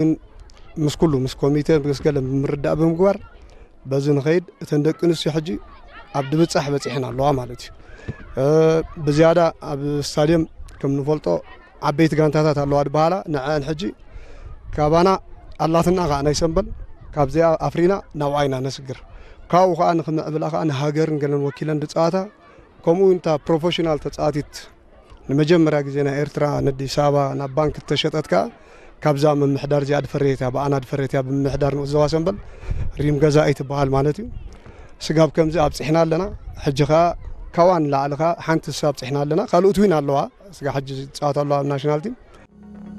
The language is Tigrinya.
ግን ምስ ኩሉ ምስ ኮሚቴ ምስ ገለ ብምርዳእ ብምግባር በዚ ንኸይድ። እተን ደቂ ኣንስትዮ ሕጂ ኣብ ድብጻሕ በጺሐን ኣለዋ ማለት እዩ። ብዝያዳ ኣብ ስታድየም ከም ንፈልጦ ዓበይቲ ጋንታታት ኣለዋ ዝበሃላ ንዐን ሕጂ ካባና ኣላትና ከዓ ናይ ሰንበል ካብዚኣ ኣፍሪና ናብኣ ኢና ነስግር። ካብኡ ከዓ ንክምዕብላ ከዓ ንሃገርን ገለን ወኪለን ዝፀዋታ ከምኡ እውን እታ ፕሮፌሽናል ተፃዋቲት ንመጀመርያ ግዜ ናይ ኤርትራ ንኣዲስ ኣበባ ናብ ባንክ እተሸጠት ከዓ ካብዛ ምምሕዳር እዚኣ ድፈረየት እያ፣ ብኣና ድፈረየት እያ ብምምሕዳር ንኡስ ዞባ ሰንበል ሪም ገዛኢ ትበሃል ማለት እዩ። ስጋብ ከምዚ ኣብፂሕና ኣለና። ሕጂ ከዓ ካዋ ንላዕሊ ከዓ ሓንቲ ንሳ ኣብፂሕና ኣለና። ካልኦት እውን ኣለዋ ስጋ ሕጂ ዝፃወት ኣለዋ ኣብ ናሽናል ቲም።